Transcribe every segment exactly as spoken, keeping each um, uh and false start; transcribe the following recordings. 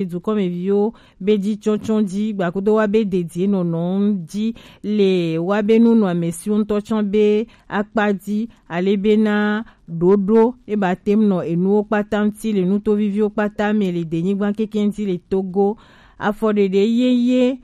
dukɔmeviwo be ji tsɔtsɔ ji gbakudo wa be dedie nɔnɔ ji le wa be nunɔamesiwo ŋutɔ tsɔ be akpa ji, ale bena ɖoɖo e ba tem nɔ enuwo kpata ŋuti le nutoviviwo kpata me le denyigba keke ŋuti le Togo. Afɔɖeɖe yeye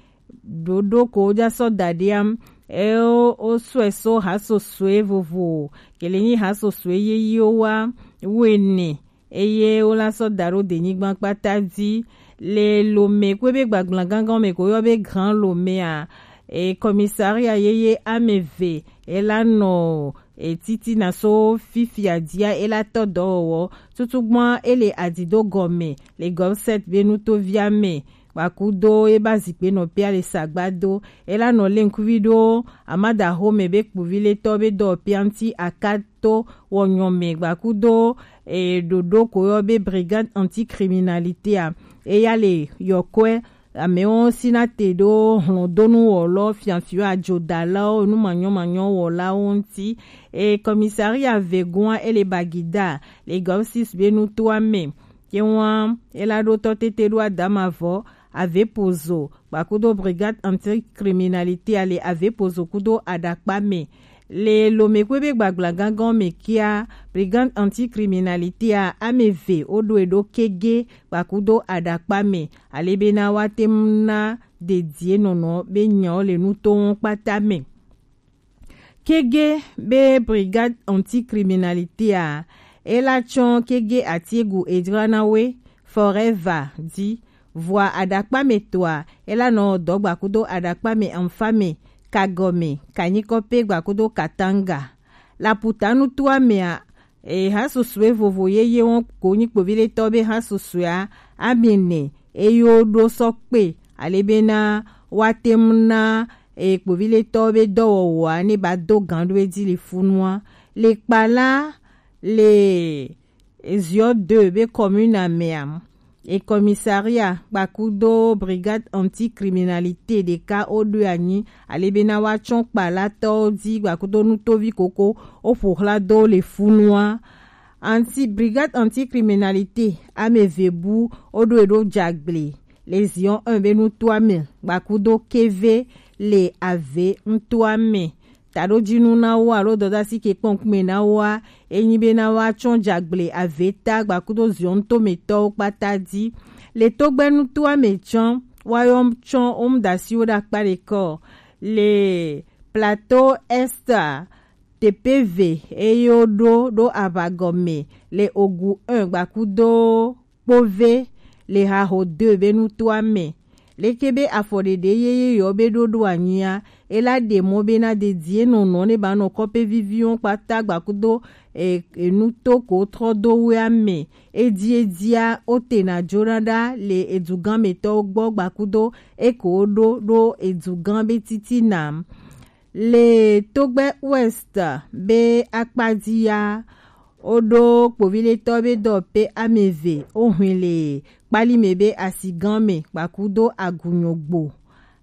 ɖoɖo ko ja sɔ da ɖi am, e wo sɔe so hasosoe vovo, kele nyi hasosoe yeyewo wa wuiene eye wola sɔ da ɖo denyigba kpata ji. Le Lomé kpé be gbagblã gángan mɛ ko yɔ be Grand Lomé a, e commissariat yeye ame eve e la nɔ e titina so fifia dia e la tɔ dɔwɔwɔ tutugbɔn e le adido gɔmɛ le gɔmsɛt be nutovia mɛ. Gbakudo e ba zikpe nɔ pia le sagbado e la nɔ le ŋkuvi ɖo amadaho mɛ be kpovi le tɔ be dɔ pia ŋuti aka to wɔnyɔmɛ gbakudo e ɖoɖo ko yɔ be brigade anticriminalité a, eya le yɔkɔɛ amewo sina te ɖo hlɔndonu wɔlɔ fiafiɔ adzodalawo numanyɔmanyɔ wɔlawo ŋuti. E commissariat vegoa ele bagida le gɔsis be nutoa mɛ. Ke ŋua ela ɖo tɔ tete ɖo adama vɔ ave pozo gbakudo brigade anticriminalité a le ave pozo kudo aɖakpa mɛ. Le Lomé kpé be gbagblã gángan mɛ kia brigade anticriminalité a ame eve wo ɖo e ɖo kege gbakudo aɖakpa mɛ, ale bena wa tem na dedie nɔnɔ be nyawo le nutowo kpata mɛ. Kege be brigade anticriminalité a, e la tsɔ kege atiegu e jra na we forever di. Vɔa aɖakpa mɛ toa, e la nɔ dɔgba kudo aɖakpa mɛ anfa mɛ kagɔmɛ kanyikɔ pe gba kudo katanga. Laputanu toa mɛa, e hasusue vovo yeye wɔn ko nyi kpovi le tɔ be hasusue a, amine eyo ɖo sɔ kpe ale bena wa tem na e kpovi le tɔ be dɔwɔwɔa ne ba do gan ɖo edzi le funua le kpala le eziɔ deux be commune amea. E commissariat kpakudo brigade anticriminalité ɖeka wo ɖo anyi ale bena wa tsɔ kpalatɔwo dzi gbakudo nutovi koko wo ƒoxla do le funua. Anti brigade anticriminalité ame eve bu wo ɖo e ɖo jagble le zion un be nutoa me gbakudo keve le ave nutoa me. Taɖojinu na wo alo dɔdasi ke kpɔn kume na woa, enyi bena wa tsɔ jagble aveta gbakudo zion tometɔwo kpata di. Le togbɛnu toa me tsɔ wa yɔ tsɔ wo mu dasiwo ɖe akpa ɖekɔ le plateau est teƒe eve eye woɖo ɖo aʋagɔme le ogu un gbakudo kpove le haho deux be nutoa me. Leke be afɔɖeɖe yeye yɔ be ɖoɖo anyia, ela ɖe mɔ be na dedie nɔnɔ ne ba nɔ kɔƒe viviwo kpata gbakudo e, enuto ko trɔ do wea me. Edi edia wo tena dzona ɖa le edugãmetɔwo gbɔ gbakudo eko wo ɖo ɖo edugã be titina. Le togbɛ ouest be akpa dzi ya, woɖo kpoviletɔ be dɔpe ame eve wohui le kpali me be asigã me kpakudo agunyogbo.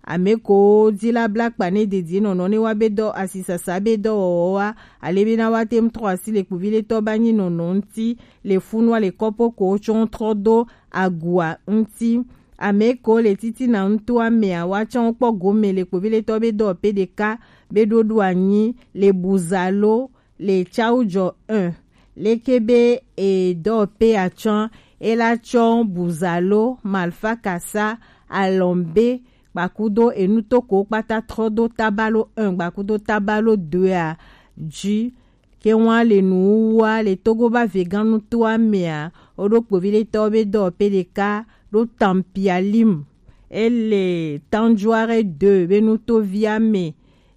Ame ko dzi la bla kpa ne dedie nɔnɔ ne wa be dɔ asisasa be dɔwɔwɔ wa ale be na wa te ŋu trɔ asi le kpoviletɔ ba nyi nɔnɔ ŋuti le funua le kɔpo ko tsɔ trɔ do agua ŋuti. Ame ko le titina ŋutoa mea wa tsɔ kpɔ gome le kpoviletɔ be dɔpe ɖeka be ɖoɖo anyi le buzalo le tsawujɔ un. Leke be e dɔpe atsɔ ela tsɔ buzalo malfakasa alɔmbe gbakudo enutoko kpata trɔ do tabalo un gbakudo tabalo deux a dzi. Ke wa le nuwuwua le Togo ba veganu toa mea, woɖo kpoviletɔwo be dɔwɔƒe ɖeka ɖo Tampialim. Ele Tanjuare deux be nutovia me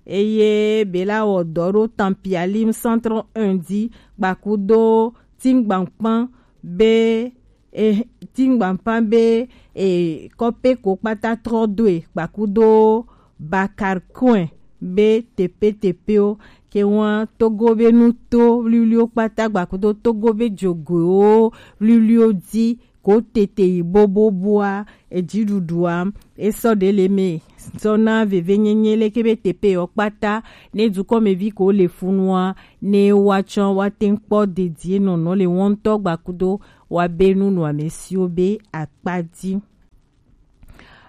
eye be la wɔ dɔ ɖo Tampialim centre un dzi gbakudo Tingbankpan be e, Tingbankpan be e, kɔpe ko kpata trɔ doe gbakudo Bakarkoe be tepetepewo ke wa Togo be nuto wliwliwo kpata gbakudo Togo be dzogoewo wliwliwo dzi ko tete yi boboboa edziɖuɖua esɔ ɖe le me sɔ na vevenyenye leke be teƒe yɔ kpata ne dukɔmevi ko le funua ne wa tsɔ wa te ŋu kpɔ dedie nɔnɔ le wɔntɔ gbakudo wa be nunɔamesiwo be akpa dzi.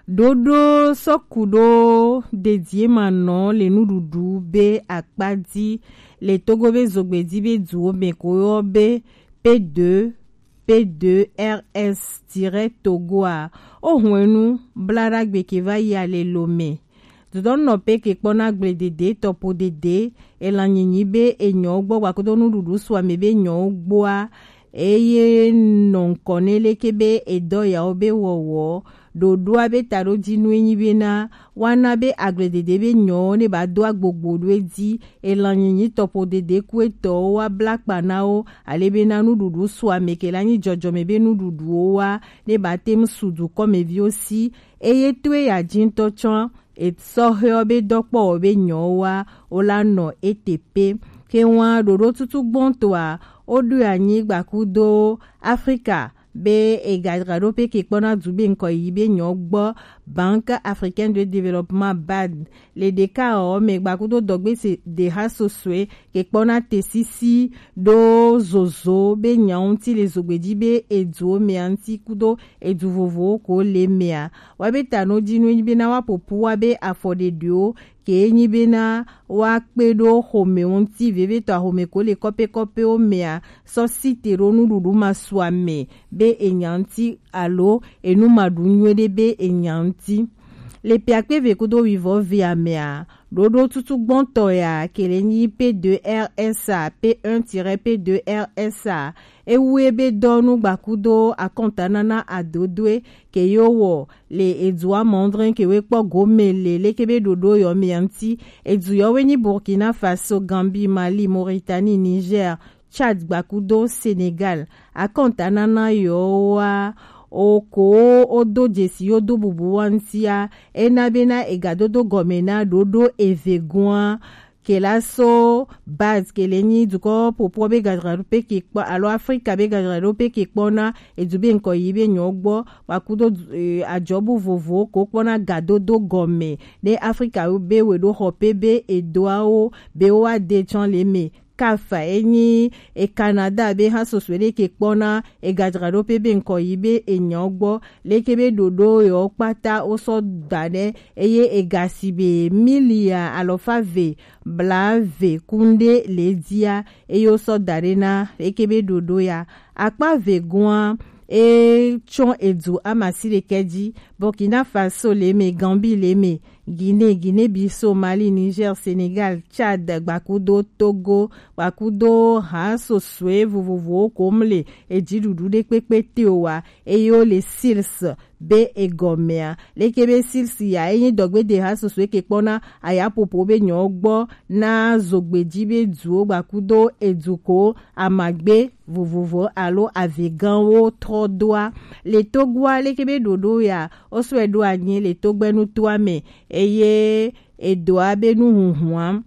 Ɖoɖo sɔku ɖo dedie ma nɔ le nuɖuɖu be akpa ji le Togo be zogbe ji be duwo me ko yɔ be P deux, P deux R S tiret Togo a. O hwenu blaɖagbe ke va yi ale lo me. Dodɔnnɔ pe ke kpɔna gbledede tɔpo dede elan nyinyi be enyɔ gbɔ gbakodo nuɖuɖu suame be nyɔ gboa, eye nɔ ŋkɔ ne leke be edɔ yawo be wɔwɔ ɖoɖoa be taɖo ji nu enyi bena wana be agbledede be nyɔwo ne ba do agbogbo ɖo edzi, elan nyinyi tɔpo dede ku etɔwo wa bla kpa na wo, ale bena nuɖuɖu suame ke la nyi jɔjɔme be nuɖuɖuwo wa ne ba te ŋu su dukɔmeviwo si, eye to eya ji ŋutɔ tsɔ esɔhɛwo be dɔkpɔwɔ be nyɔwo wa wo la nɔ ete pe. Ke wa ɖoɖo tutu gbɔntɔa wo ɖo anyi gbakudo Afrika be egadraɖo pe ke kpɔna du be ŋkɔ yi be nyɔ gbɔ Banque Africaine de Développement, bad, le ɖeka ɔ me gbakudo dɔgbe se de ha sosoe ke kpɔna te sisi ɖo zozo be nya ŋuti le zogbe ji be eduwo mea ŋuti kudo edu vovowo ko le mea. Wa be ta no ji nu enyi bena wa popo wa be afɔ ɖeɖewo ke enyi bena wa kpe ɖo xome ŋuti vevetɔ axome ko le kɔpe kɔpewo mea sɔ site ɖo nuɖuɖu ma su ame be enya ŋuti alo enu ma ɖu nyuie ɖe be enya ŋuti. Le piakpe ve kudo wivɔ vea mea, ɖoɖo tutu gbɔntɔ ya ke le nyi P deux R S A, P un tiret P deux R S A, ewu ebe dɔnu gbakudo akɔntanana adodoe ke yo wɔ le edua mɔndrɛn ke we kpɔ gome le leke be ɖoɖo yɔ mea ŋuti. Edu yɔ we nyi Burkina Faso, Gambie, Mali, Mauritanie, Niger, Tchad gbakudo Senegal. Akɔntanana yɔ wa o ko o do jesi yo do bubu wa ŋutia, ena bena egadodo gɔme na ɖoɖo eve gɔa. Ke la so bad ke le nyi dukɔ popo be gadraɖo pe ke kpɔ alo Afrika be gadraɖo pe ke kpɔ na edu be ŋkɔ yi be nyɔ gbɔ, wa kudo eh, ajɔbu vovo ko kpɔ na gadodo gɔme ɖe Afrika be we ɖo xɔ pe be edoawo be wa de tsɔ le me. Kafa enyi e Canada be ha soso ɖe ke kpɔ na egadraɖo pe be ŋkɔ yi be enyɔ gbɔ. Leke be ɖoɖo yɔ kpata wo sɔ da ɖe eye egasi be milia alɔfa ve bla ve kunde le dia eye wo sɔ da ɖe na leke be ɖoɖo ya. Akpa ve gɔa e tsɔ edu amasi ɖekɛ ji, Burkina Faso le me, Gambie le me, Guinée, Guinée Bissau, Mali, Niger, Senegal, Tchad gbakudo Togo gbakudo ha sosoe vovovowo ko mle eji ɖuɖu ɖe kpekpe te o wa. Eye wo le sils be egɔmea. Leke be sils ya enyi dɔgbede ha sosoe ke kpɔ na ayapopo be nyɔ gbɔ na zogbeji be duwo gbakudo eduko amagbe vovovo alo aveganwo trɔ doa. Le Togoa leke be ɖoɖo ya wo sɔe ɖo anyi le togbɛnutoa me eye edoa be nuhunhua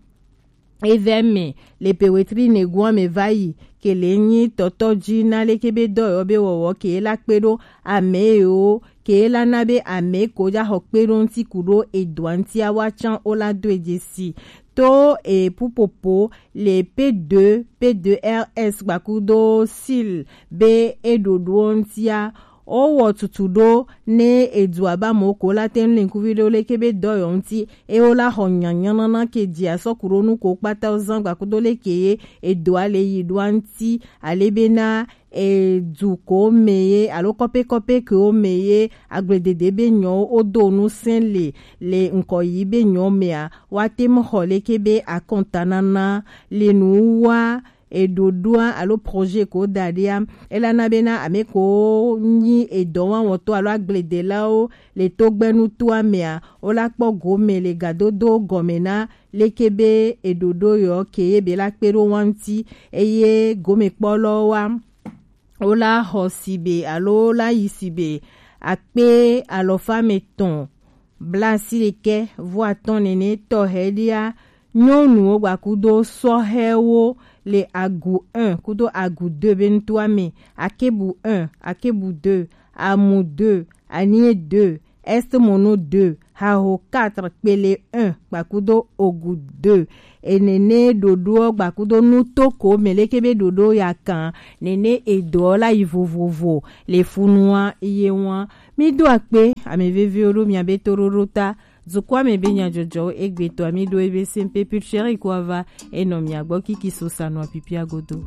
evɛ me le pe wetri negoa me va yi ke le nyi tɔtɔ ji na leke be dɔ yɔ be wɔwɔ ke la kpe ɖo ame yiwo ke la na be ame ko ja xɔ kpe ɖo ŋuti ku ɖo edoa ŋutia wa tsã wo la do edze si to epupopo le P deux, P deux R S gbakudo sil be eɖoɖoɔ ŋutia. Wowɔ tutu ɖo ne edua ba mo ko la te ŋu le ŋkuvi ɖewo leke be dɔ yɔ ŋuti, eye wo la xɔ nyanyanana ke dzi asɔ ku ɖo nu ko kpata wo zan gbakudo leke ye edoa le yi ɖoa ŋuti, ale be na edu ko me ye alo kɔpe kɔpe ke wo me ye agbledede be nyɔwo wo do nu sɛn le le ŋkɔ yi be nyɔ mea, wa te ŋu xɔ leke be akɔntanana le nu wa eɖoɖoa alo projet ko da ɖia. Ela na bena ame ko nyi edɔwawɔtɔ alo agbledelawo le togbɛnutoa mea, wo la kpɔ gome le gadodo gɔme na leke be eɖoɖo yɔ ke ye be la kpe ɖo wa ŋuti, eye gomekpɔlɔwo wa wo la xɔ sigbe alo wo la yi sigbe akpe alɔfa me tɔn bla asi ɖekɛ vo atɔn nene tɔxɛ ɖia. Nyɔnuwo gbakudo sɔhɛwo le agu un kudo agu deux be ŋutoa me, akebu un, akebu deux, amu deux, anie deux, est mono deux, haho quatre, kpele un gbakudo ogu deux. Enene ɖoɖoɔ gbakudo nutoko me leke be ɖoɖo ya kan nene edoɔ la yi vovovo le funua ye wa. Mi do akpe ame veviwo ɖo miabe toɖoɖo ta. Dukɔa me be nyajɔjɔwo egbe tɔ mi ɖo ebe sempe picture ko ava enɔ mia gbɔ kiki so sanua pipia godo.